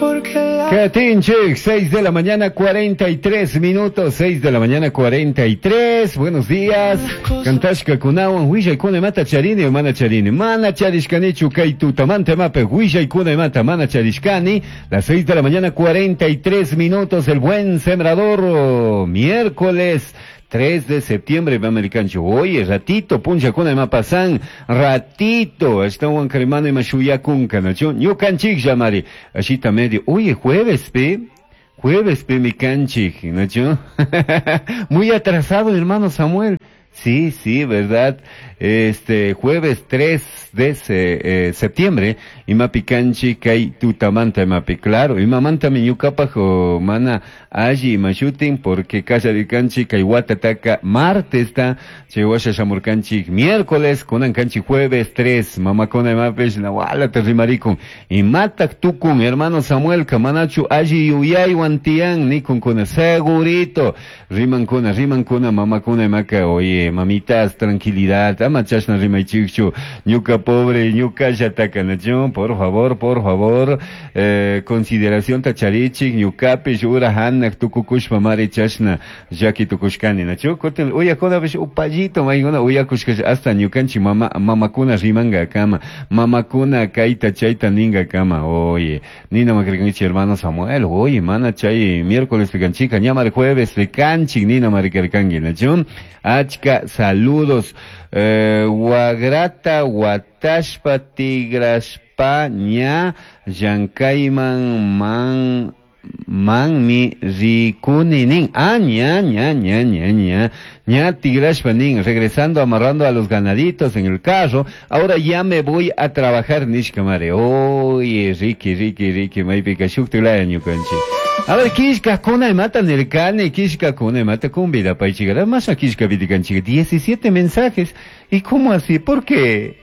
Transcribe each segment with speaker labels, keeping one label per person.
Speaker 1: Porque la
Speaker 2: Katinchik, 6 de la mañana 43 minutos, 6 de la mañana 43. Buenos días. Kantashka kunawan willaykuna imata charini o mana charini. Mana charishkanichu kay tutamanta imapi willaykuna imata mana charishkani. Las 6 de la mañana 43 minutos, el buen sembrador, oh, miércoles 3 de septiembre, americancho. Oye, ratito, puncha kuna ima pasan, ratito, ashtawan karimana ima shuyakunka, nachu, ñukanchik llamari, ashita medio. Oye, jueves, pe, jueves, pe, mi canchik, nachu. Muy atrasado, hermano Samuel. Sí, sí, verdad. Este jueves 3 de septiembre, imapi kanchi kay tutamanta imapi, claro, imamanta mi ñukapak o mana alli imashutin, porque kallarikanchi kay watataka martes ta, chay washa shamurkanchik miércoles, kunan kanchi jueves 3, mamakuna imapish nawala te rimarikun. Imatak tukun, hermano Samuel, kamanachu alli yuyaywan tiyan, nikun kuna, segurito, rimankuna, rimankuna, mamakuna imaka, oye, mamitas, tranquilidad, ama chashna rimaychikchu, ñuka pobre, ñuka llataka, nachu, por favor, por favor, consideración tacharichik, ñukapish, ura hanak, tukukushpa mari chashna, llaki tukushkani, nachu, kutin, uyakunapish upallito, maykuna uyakushkash, hasta ñukanchik mama, mamakuna rimanga kama, mamakuna kayta chayta ninga kama, oye, nina makrikanchik hermano Samuel, oye, mana chay miércoles pikanchika, ñamar jueves pikanchik, nina marikarkanki, nachu, achka saludos, Wagrata, Watashpa, Tigrashpa, ña, Llankayman, man, manmi, rikuni, nin. Ah, ña, ña, ña, ña, ña. Ña, Tigrashpa, nin. Regresando, amarrando a los ganaditos en el carro. Ahora ya me voy a trabajar, nishkamare. Oye, Ricky, Ricky, Ricky, maypika, shuktilaya ñukanchik. A ver, kishka kuna imata nirkani, kishka kuna imata kumbida paychikara, masha kishka vitikanchik, 17 mensajes. ¿Y cómo así? ¿Por qué?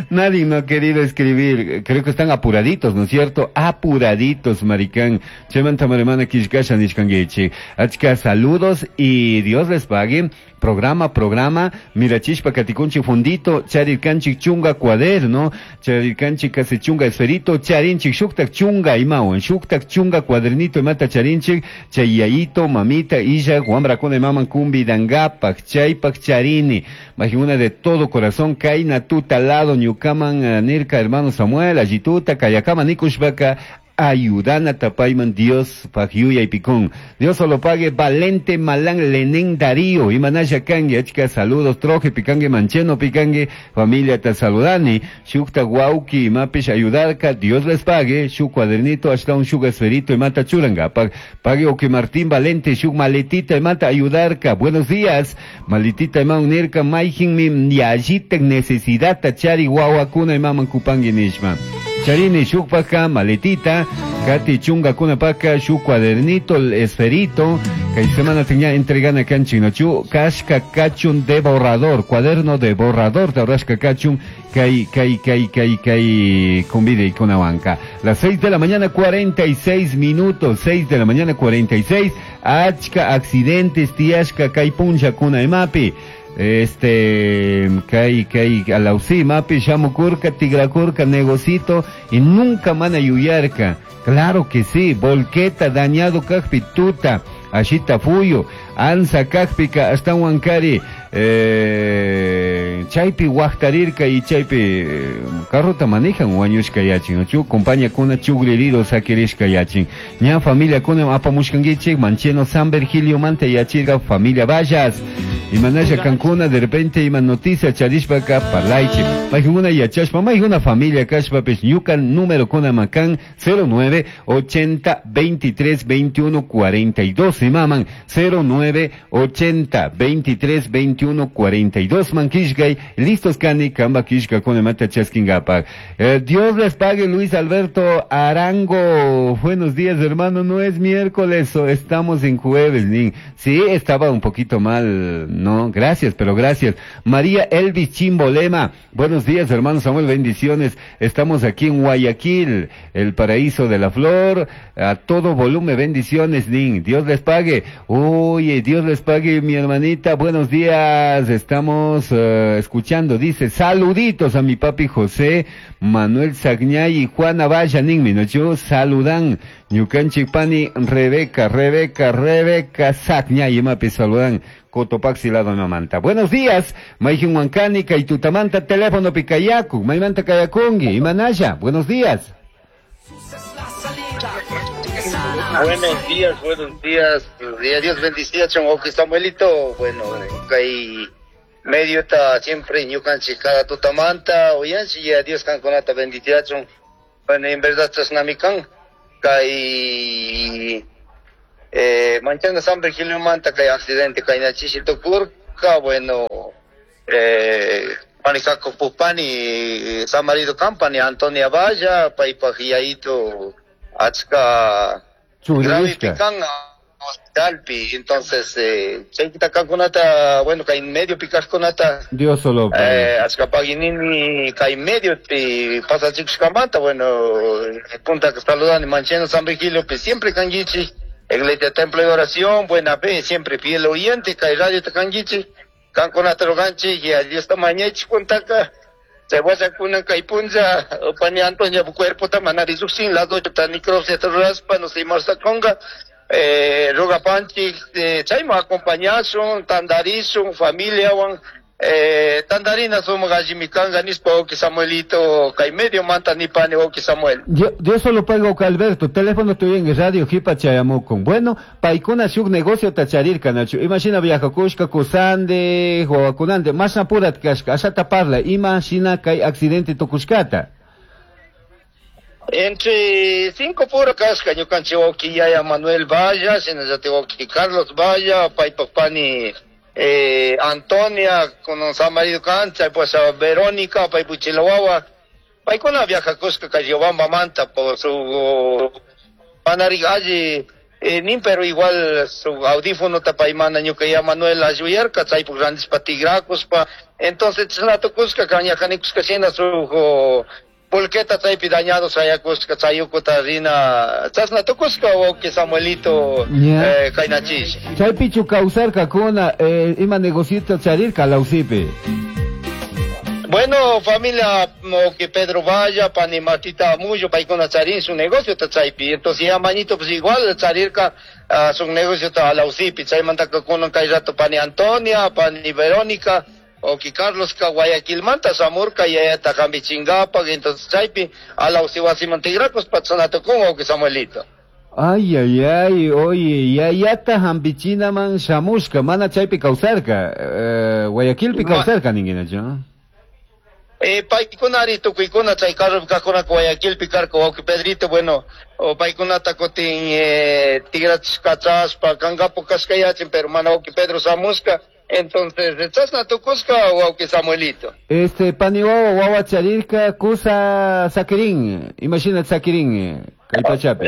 Speaker 2: Nadie no ha querido escribir. Creo que están apuraditos, ¿no es cierto? Apuraditos, maricán. Chemanta maremana kishkasha nishkanguichi. Achka, saludos y Dios les pague. Programa, programa. Mirachishpa katikunchi fundito. Charirkanchik chunga cuaderno. Charirkanchik casi chunga esferito. Charinchik shuktak chunga imawan. Shuktak chunga cuadernito imata charinchik. Chayayito, mamita, illa, guambrakuna imaman kumbi dangapak. Chaypak charini. Majimuna de todo corazón. Kaina tuta lado ñukaman, nirka hermano Samuel, allituta, kayakama nikushbaka, ayudana tapayman Dios pagyuya y picón. Dios solo pague Valente Malán Lenén Darío y Manaya Kangue, achka saludos, troje picangue mancheno picangue, familia te saludani, shukta guauki y mapish ayudarka, Dios les pague, shu cuadernito, hasta un shuga esferito y mata churanga, pague oki Martín Valente, shuk maletita y mata ayudarka, buenos días, maletita y maunirka, maijin mi yajita necesidad tachari guauakuna y maman kupangi nishma. Charini, shukpaka, maletita, Kati chunga kuna paka, shu cuadernito, el esferito, que semana tenía entregana canchino, chu, kashka kachun de borrador, cuaderno de borrador, de rasca kachun, kai, kai, kai, kai, kai, convide y con banca. Las 6 de la mañana, 46 minutos, 6 de la mañana, 46, achka, accidentes, tiashka, kai puncha, kuna emapi. Este, kai, kai, alausi, mapi, shamukurka, tigrakurka, negocito, y nunca mana yuyarka. Claro que sí, volqueta, dañado, kajpi, tuta, ashita fuyo, ansa, kajpika, hasta huancari, chaypi huajtarirka y chaypi, carrota manejan huañushka yachin, ¿no? Chu, compañía kuna chugrirido saquirishka yachin. Ña familia kuna apamushkanguichik, mancheno San Virgilio manta yachirga, familia Vallas. Y manaya Cancuna, de repente ima noticia charishpaka parlaichi. Majuna yachashpa, majuna familia kashpa pes ñukan número kuna makan cero nueve ochenta veintitrés veintiuno cuarenta y dos. Y maman cero nueve ochenta veintitrés veintiuno cuarenta y dos. Mankishgay, listos kani, kamba kishka kuna mata chaskingapak. Dios les pague, Luis Alberto Arango. Buenos días, hermano. No es miércoles, estamos en jueves, nin. Sí, estaba un poquito mal. No, gracias, pero gracias. María Elvis Chimbolema, buenos días, hermano Samuel, bendiciones. Estamos aquí en Guayaquil, el paraíso de la flor, a todo volumen, bendiciones, nin. Dios les pague. Oye, Dios les pague, mi hermanita, buenos días. Estamos escuchando. Dice, saluditos a mi papi José Manuel Sagñay y Juana Valla ninmi, ¿no? Saludan ñukanchik pani Rebeca, Rebeca, Rebeca Sagñay imapi saludan Cotopaxi lado mamanta. Buenos días, Mayjin Huancani, Kaitutamanta, teléfono picayacu, Maymanta Kayakungi, Imanaya, buenos días.
Speaker 1: Buenos días, buenos días. Dios bendiga, chongo Samuelito. Bueno, kay medio está siempre ñukanchik cada tutamanta, oyanchi ya Dios kankunata bendiciachun. Bueno, en verdad chashnami kan. Kay manchana San Virgilio manta kay accidente kay nachishi tukurka, bueno, pani Pupani, San Marido Company, Antonia Valla, paypaj yaito achka grave pican hospitalpi, entonces chaykita kankunata, bueno, kay medio pikajkunata
Speaker 2: Dios solo
Speaker 1: achka paginini kay medio pi pasachikushkamanta, bueno, punta saludani Mancheno San Virgilio, pi siempre kankichik, Iglesia Templo de Oración, buena fe, siempre fiel oyente, kay radio kankichik, kankunata ruganchik, y Dios ta mañachik puntaka, chay wasakuna kay punlla, pani Antonia cuerpo ta manari llukshin, las 8 ta necropsia ta rurashpa, no sé, marsakonga, rugapanchik, chayman acompañashun, tandarishun, familiawan, tandarina sumaq allimi kanka nishpa wawqi Samuelito, kay medio manta nipani wawqi Samuel.
Speaker 2: Yo solo pago que Alberto, teléfono estoy en radio jipa chayamukun. Bueno, paykuna shuk negocio ta charirka, Nacho. Imagina viajakushka, kusande, wawakunande, mas apurat kashka, ashata parla, imagina kay accidente tukushkata.
Speaker 1: Entre 5 pura kashka, ñukanchik wawqi yaya Manuel Valla, shinallati wawqi Carlos Valla, paypak pani Antonia, con San Marido Cancha, pues a Verónica, paypuchilawawa, paykuna viajakushka kay Riobamba manta por su panari alli, nin pero igual su audífono ta paymana ñuka ya Manuel ayuyarka, chaypuk randishpa tigrakuspa, entonces chashnatukushka kañajanikushka shina su pulqueta chaypi dañado chayakushka chayukuta rina chashnatukushka wawqi Samuelito, kaynachish.
Speaker 2: Chaypichu kawsarkakuna, ima negocito charirka Lausipi.
Speaker 1: Bueno, familia que Pedro Valla, pani Martita Muyo, paykuna charin su negocio ta chaypi. Entonces ya mañito pues igual charirka su negocio ta Lausipi, chaymantaka kunan kay rato pani Antonia, pani Verónica, o que Carlos ka Guayaquilmanta samurka yayata hambichingapaq, entonces chaypi Alausi wasiman tigrakus patsanatukunqa wawqi Samuelito.
Speaker 2: Ay, ay, ay, oye, yayata hambichinaman shamushka, mana chaypi kawsarka, Guayaquilpi kawsarka ninguinachu.
Speaker 1: Paykunari tukuykuna chay carropi kajkunaka Guayaquilpi karka wawqi Pedrito, bueno, o paykunata kutin tigrachishkachashpa kankapu kashkayachin, pero mana wawqi Pedro shamushka. Entonces, chashna tukushka wawqi Samuelito.
Speaker 2: Pani wawa, wawa charirka, kusa sakirin, imagina sakirin, kay pachapi.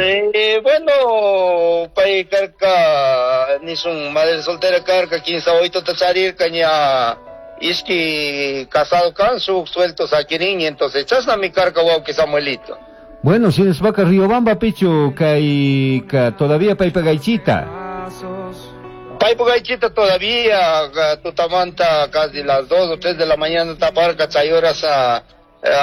Speaker 1: Bueno, pay karka, nisun madre soltera karka, quince oito ta charirka, ña iski casado kan, su suelto sakirin, entonces chashna mi karka wawqi Samuelito.
Speaker 2: Bueno, si nos vaca Riobamba, pichu, kay, ka, todavía pay pagaichita.
Speaker 1: Paypugaychita todavía, tutamanta casi las 2 o 3 de la mañana taparca, chay horas a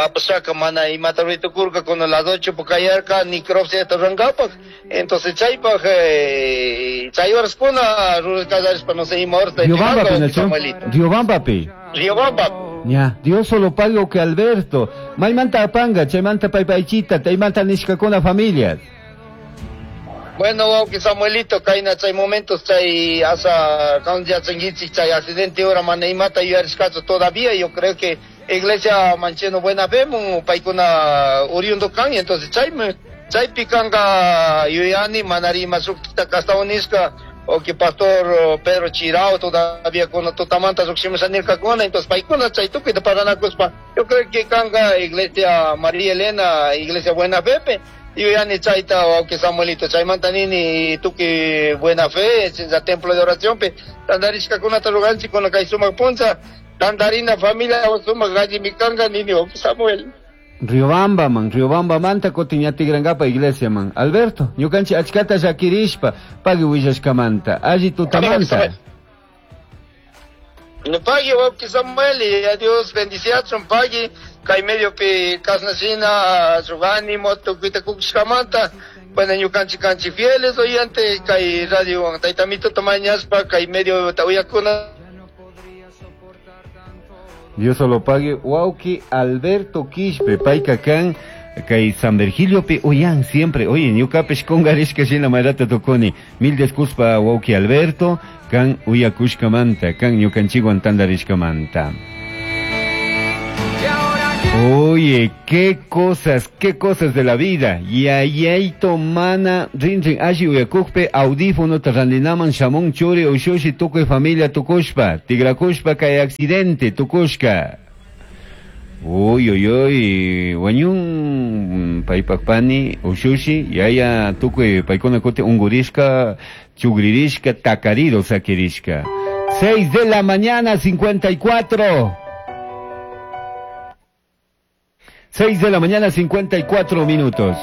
Speaker 1: apashaka mana imata ruitukurka con las 8 pukayarka, necropsia tarrangapak. Entonces chaypaj, chay horas kuna rurakallarispa no sé ima horas ta
Speaker 2: Riobamba,
Speaker 1: tigranka,
Speaker 2: Pinacho.
Speaker 1: Samuelito.
Speaker 2: Riobamba, pi.
Speaker 1: Riobamba.
Speaker 2: Ya, Dios solo pago que Alberto. Maymanta apanga, chaymanta paypaychita, chaymanta nishkakuna familias.
Speaker 1: Bueno, wawqi Samuelito, kayna chay momentos chay asa kanja changuichi chay accidente ahora mana imata yuyarishkachu todavía, yo creo que iglesia Mancheno Buena Fe mun paykuna oriundo kan, entonces chay chaypi kanka yuyani manari ima shukta kastawanishka, o que pastor Pedro Chirao todavía con tutamanta llukshimusha nirkakuna, entonces paykuna chay tukuyta paranakuspa, yo creo que kanka iglesia María Elena, iglesia Buena Fe, yuyani chayta wawqi Samuelito, chaymanta nini tukuy Buena Fe, chincha templo de oración pe, tandarishkakunata ruganchik kuna kay sumaq puncha, tandarina familia sumaq allimi kanka nini wawqi Samuel.
Speaker 2: Riobamba man, Riobamba manta kutin ña tigrankapa iglesia man. Alberto, ñukanchik achkata llakirishpa, pagui willashkamanta, alli tutamanta.
Speaker 1: Pagui wawki Samuel, y Dios bendiciachun pagui, kay mediopi kasnashina shuk ánimo tukuyta kukushkamanta. Bueno, ñukanchik kanchik fieles oyente kay radio tayta Amituta mañashpa kay medio uyakuna.
Speaker 2: Dios lo pague. Wauki Alberto Quispe, payka kan kay San Virgilio pi uyan siempre. Oye, ñukapish kungarishka shina mayrata tukuni. Mil disculpa wauki Alberto, kan uyakushkamanta, kan ñukanchikwan tandarishkamanta. Oye, qué cosas de la vida. Yayayto mana rinrin alli uyakukpi audífono randinaman shamun churi ushushi tukuy familia tukushpa, tigrakushpa kay accidente tukushka. Uy, uy, uy, wañun paypak pani ushushi, yaya tukuy paykuna kuti ungurishka, chugririshka, takarido sakirishka. 6 de la mañana, 54. 6 de la mañana, 54 minutos.